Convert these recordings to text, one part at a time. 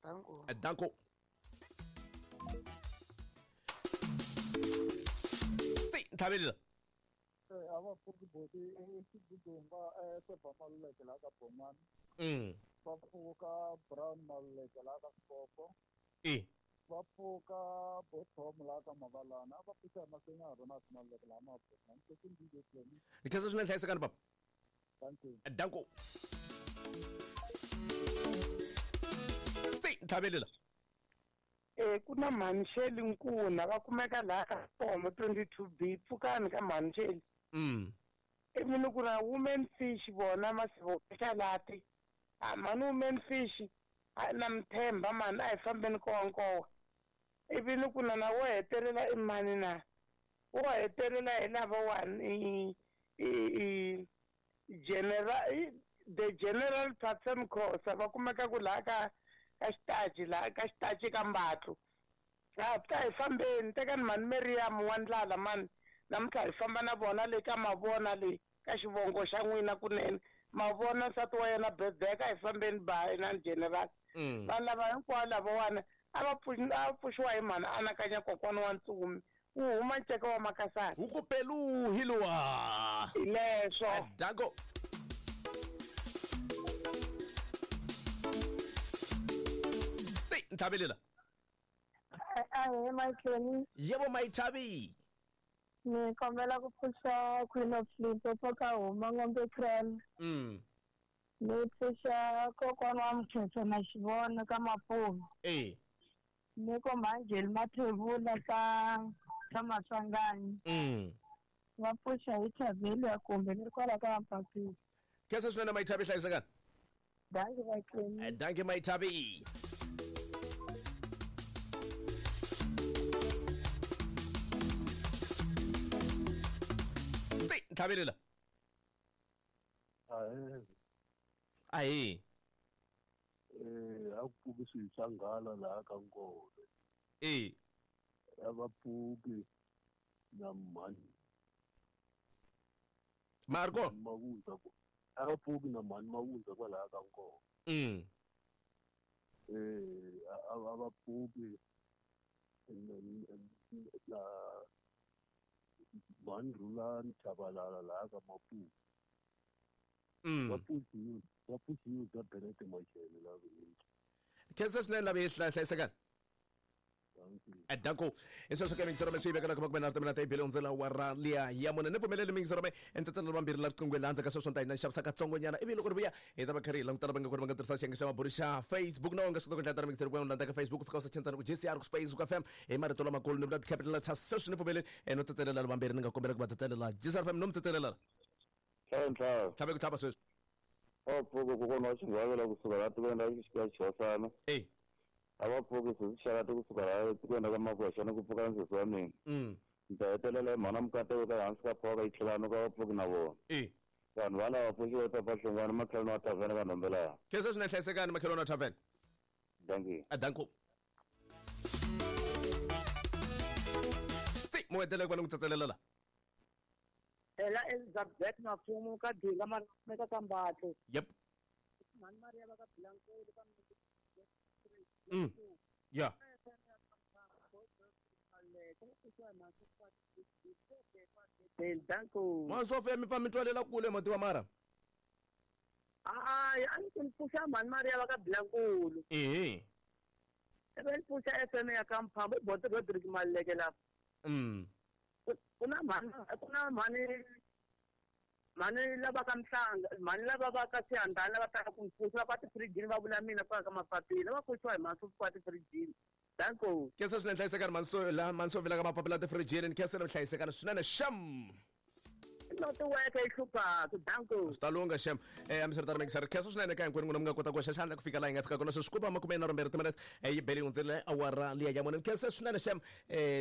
Danko. Danko. Ntlhavelela. A va pfuki boti exiguduni va Sebha Maluleke laha ka Bomani. Va pfuka Brown Maluleke laha ka Sikopo. E. Va pfuka Botom laha ka Mavalana. A va pfuxa hi Masenya Ronald Maluleke laha Mabomani. Ni DJ Clemi. Ni khensa swinene, hlayisekani papa. Thank you. Danko. Ntlhavelela. Ku na Mhanxeli Nkuna va kumeka laha ka Pomo 22B, pfukani ka Mhanxeli. Ivi ni ku na Women Fish vona Masivo Xalati. A mhani Women Fish a na Mthemba mhani, a hi fambeni nkowankowa. Ivi ni ku na na wo hetelela i mani na wo hetelela hi lavawani i general, the General Patson Khosa, va kumeka ku laha ka xitachi, laha ka xitachi ka Mbatlu. A ta hi fambeni, tekani mhani Meriam wa ndlala mani, namuntlha hi famba na vona le ka mavona le ka xivongo xa n'wina kunene. Mavona nsati wa yena birthday, ka hi fambeni ba na general. Vanhu lava hinkwavo lavawani a va pfuxiwa hi mhani anakanya kokwana wa Ntsumi, wu huma nceka wa Makasana. Wu ku peluhi luwa. Hi leswo. Danko. Ntlhavelela. Ahee Mayitleni. Yebo Mayithavi. Ni kombela ku pfuxa Queen of Limpopo ka huma Ngombe Kraal. Ni pfuxa kokwana wa Mkhetho na Xivona ka Mapuve. Ni ko Mhanjeli Mathebula ka Maswanganyi. Va pfuxa hi Thaveli ya kumbe ni ri kwala ka Mpapile. Khensa swinene Mayithavi, hlayisekani. Dankie Mayitleni. Dankie Mayithavi. Ntlhavelela. Ahee. A ku pfuki swilo swa nghala laha ka Nkove. A va pfuki na mhani. Marco. Mavundza ku. A va pfuki na mhani Mavundza kwalaha ka Nkove. A va pfuki na mhani Rhulani Chabalala laha ka Mapuve. Va pfuxiwe bya Benete Machele laha Vhiliki. Khensa swinene lava hi hlayisekani. Danko. Hi sweswo ke mingisero me swi vekela kuma kumbe na timina ta ibele hundzela wa ra liya ya mune. Ni pfumeleli mingisero me entetela vambirhi la riqingweni laha ndzhaku ka sweswo ni ta hina xavisa katsongonyana. Ivi loko ri vuya hi ta va kha ri hi langutana va nga ku ri va nga tirhisa xiyenge xa mabulu xa Facebook na u nga swi kota ku ndlela mingisero ku landza ka Facebook fika u search ku JCR ku space ku FM hi marito lamakulu ni vula ti-capital letters. Sweswi ni pfumeleli no tetelela vambirhi ni nga kombela ku va tetelela JCR FM no mi tetelela. Ntlhantlha. Tlhave ku tlhava sweswi. A va pfuki kokwana wa Xingwavela kusuka laha tikweni ra Xihosana. A va pfuki sesi Xalati kusuka laha tikweni ra ka Makwexana ku pfuka na sesi wa mina. Ni ta hetelela hi mhana Mukateko ka hansi ka phoka yi tlhelana ka va pfuki na vona. Vanhu va lava pfuxiwa papa Hlongwane makhelwani wa tavern ka Nhombela. Khensa swinene, hlayisekani makhelwani wa tavern. Dankie. Danko. Si, mo hetelela ku va ni ku tsetselela la. Ela Elizabeth Mafumo ka Dinga mara kumeka ka Mbatlo. Mhani Maria va ka Bilankulu ka Danko. Mwa Sophia mi pfa mi twalela kule mati wa mara. Hayi, a ni ku ni pfuxa Mhani Maria va ka Bilankulu. Ivi ni pfuxa FM ya ka Mphamba, i Boto Rodrick Maluleke lapha. Ku na mhani, ku na mhani, mhani lava ka Mhlanga, mhani lava va ka Swihandani lava taka ku mpfuxa, va kwa tifirijini va vula mina kwala ka mapapila, va pfuxiwa hi mhani swo kwa tifirijini. Danko. Khensa swinene, hlayisekani mhani so, la mhani so vila ka mapapila tifirijini, ni khensa na hlayisekani swinene xem. Netiweke yi hluphaka, danko. Swi ta lungha xem. Hambiswiritano mingiseri, khensa swinene ka hinkwenu n'wina mi nga kota ku hoxa xandla ku fika laha hi nga fika kona sweswi ku va makume nharhu mbirhi timinete, yi bele yi hundzile awara liya ya mune. Ni khensa swinene xem.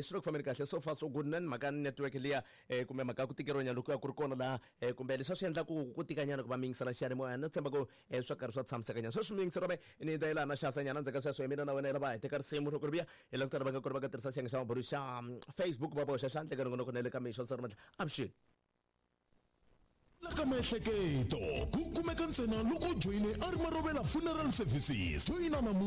Swi le ku fambeni kahle so far so good. Na ni mhaka network liya, kumbe mhaka ya ku tikeriwanyana loko ya ku ri kona laha, kumbe leswi a swi endla ku tikanyana ku va mi yingisela xiyanimoya. No tshemba ku, swa karhi swa tshamisekanyana. Sweswi mi yingisela me ni ta yelana xavisa nyana ndzhaku ka sweswo hi mina na wena hi lava hi teka risimu loko ri vuya hi langutana va nga ku ri va nga tirhisa xiyenge xa mabulu xa Facebook va boxa xandla eka nongonoko na le ka mixo swa ri avuxeni. La ka miehleketo ku kumeka ntsena loko u joyine a ri Marovela Funeral Services. Joyina namuntlha.